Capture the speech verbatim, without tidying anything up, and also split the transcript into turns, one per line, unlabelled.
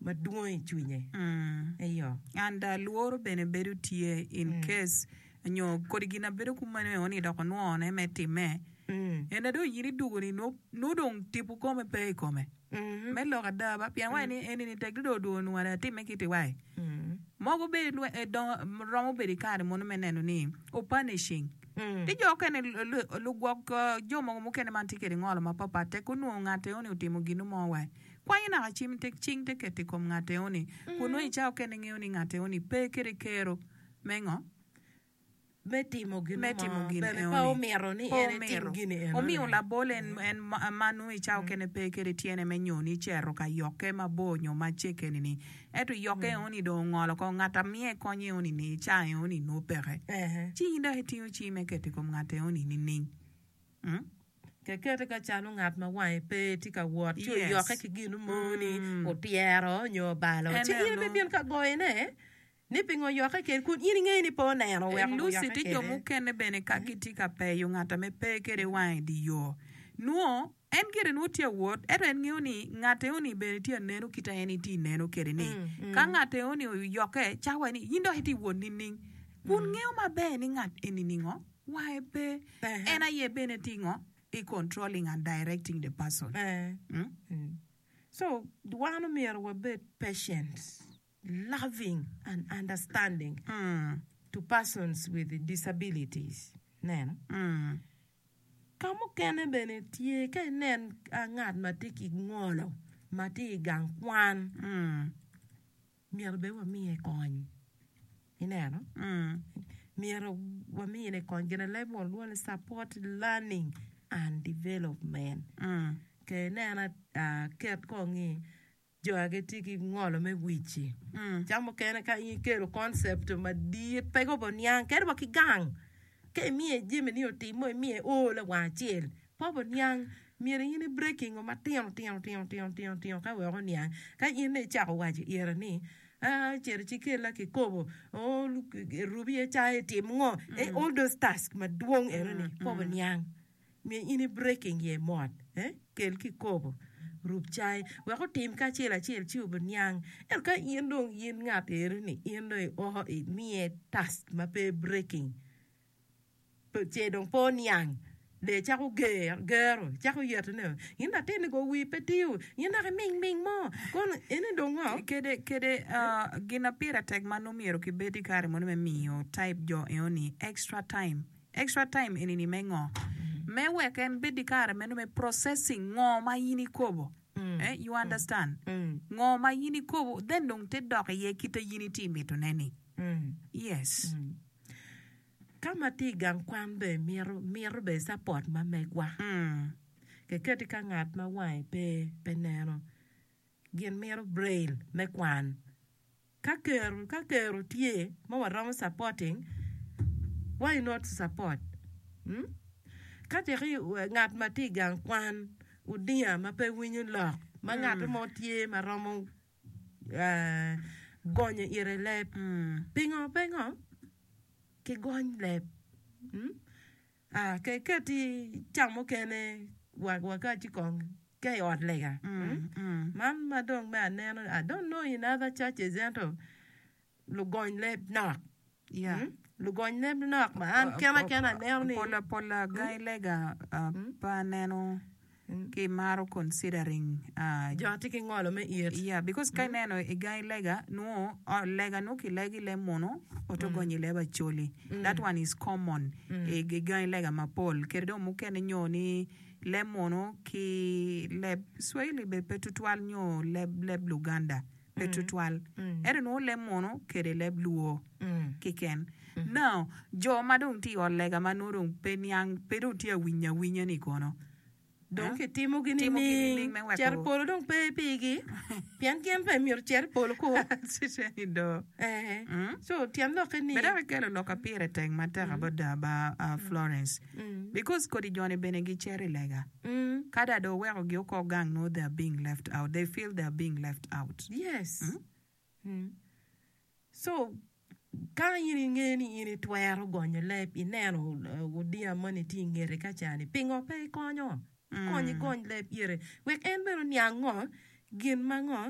Madwong i cwinye. Eyo.
And uh, lworo bene bedo tye in case nyo kodi gin abedo kumeno eo ni dok onwone me timme. En dong in idugo ni nwo nwo dong tipo kome pe i kome. Me lok ada ba pien wai ni eni ni tek do do nware atime kiti wai. Mogo be lwe eh, dongo romo bedo i kare mono me neno ni o punishing. Ti jo okene lugwok uh, jo mogo mukene man tye kede ngolo mapapat tek onwongo ngat eo ni otimo gino mo wai. Kwanyo naka cim te cing te keto i kom ngat eo ni. Kun nongo i cawa okene ngeo ni ngat eo ni pe kede kero me ngo?
Me timo gin
me timo
mo
gin
bene
eo
pe
ni.
omito ni
Pe
en etim
omito.
gini eno
Omio
ni.
labol en, en ma ma nongo i cawa okene pe kede tyene me nyo ni cero ka yokke mabor nyo macek eni ni. Ento yokke eo ni dong ongolo ko ngat a miye kony eo ni ni i ca eo ni nongo peke.
Ehe.
Ci in dok itingo cing me keto i kom ngat eo ni nining? Mm?
Kekete ka calo ngat ma wange pe tye ka wot ci
Yes.
oyokke ki gino mo ni
Mm.
otyero nyo obalo.
En
Ci in
eno.
ibibino ka goyone ni pingo oyokke kede kun in ingeyo ni pe oneno weko
Lucy
oyokke
ti jo
kede.
mukene bene ka gitye ka peyo ngat ame pe kede wange i di yo. Nwo en gire nwo tye awot ento en ngeo ni ngat eo ni bene tye aneno kita en itye ineno kede ni. Ka ngat eo ni oyokke cawa ni in dok itye wot nining? Kun ngeo maber ni ngat eni ningo wange pe.
Ehe.
En aye bene tye ngo i controlling and directing the person.
Eh.
Mm?
So wan omyero wabed patient, loving and understanding
Mm.
to persons with disabilities. Neno.
Mm.
Ka mukene bene tye ka inen ah, ngat ma tye ki ngolo ma tye i gang kwan
Mm.
myero bene wamiye kony. Ineno?
Mm.
Myero wamine kony gin leb won lwongo ni support learning and development.
Mm.
Ke ineno ah, ket kong ni jo a gitye ki ngolo me wici.
Mm.
Ca mukene ka in ikelo concept madit pe gobo niang kadi wa ki gang ka imiye jami ni otim mo imiye o lawang acel pe obo niang myero in i breaking o matino tino tino tino tino tino ka wek oniang ka in dong icako waco ire ni ah cito ci kella kikopo oh rubi iye cai tim ngo eh, all those tasks madwong eno ni pe obo niang myero in i breaking iye mot eh kel kikopo rub cai wek otim ki acel acel ci obo niang ento ka in dong in ngat eno ni in dong io imiye task ma pe breaking pe ce dong pe oniang de cako ger gero cako yetone in latin ni go wi pe tiyo in dok iming ming mo kono eni dong ngo
Kede kede uh, gin a pire tek ma nongo myero kibed i kare mono me miyo type jo eo ni extra time. Extra time eni ni me ngo? Me wek en bed i kare meno me processing ngo ma in ikobo. Eh, you understand? Ngo ma in ikobo then dong te dok iye kite in itye mitone ni. Yes.
Ka ma tye i gang kwan be mito mito be support ma megwa
Mm.
keketi ka ngat ma wange pe pe neno gin mito braille me kwan ka kero ka kero tye ma waromo supporting why not support hmm? Ka teki ngat ma tye i gang kwan odinga ma pe winyo lok ma ngat mo tye ma romo uh, gonyo ire leb
Mm.
pingo pe ngo ki gony leb hmm? Ah, keketi ca mukene wa wakaci kong ka i ot lega hmm?
Mm.
Man ma dong me aneno I don't know in other churches ento lugony leb nok.
Yeah.
Hmm? Lugony leb nok ma an kena kena aneno ni
Pola pola gai lega uh, pa aneno ki maro considering uh,
jo tye ki ngolo me it.
Yeah, because ka ineno i gai lega nwo oh, lega nwo kilego i leb muno oto gonyo i leb acholi. That one is common i i gai lega mapol. Kede dong mukene nyo ni leb muno ki leb Swahili be pe tutwal nyo leb leb Luganda pe tutwal. Ento nwo leb muno kede leb Luo kiken. Now, jo ma dong tye i ot lega ma nwo dong pe niang pe dong tye awinyo awinya ni kono.
Dong kitimogi
Timogi
nining
nining me weko-
cito i polo dong pe pigi pien gin pe myero cet i polo ko.
Ciceni do.
Eh.
Mm.
So tyen lokke ni
Be dok ikelo lok a pire tek matek about ba uh, Florence. Because kodi joni bene gicero i lega.
Mm.
Kada do weko gi oko gang no they are being left out. They feel they are being left out.
Yes. Mm. So ka in inge ni in itwero gonyo leb ineno uh, odinga moni tye i ngeti ka cani pingo pe ikonyo ikony igony leb ire wek en bene oniang ngo gin ma ngo.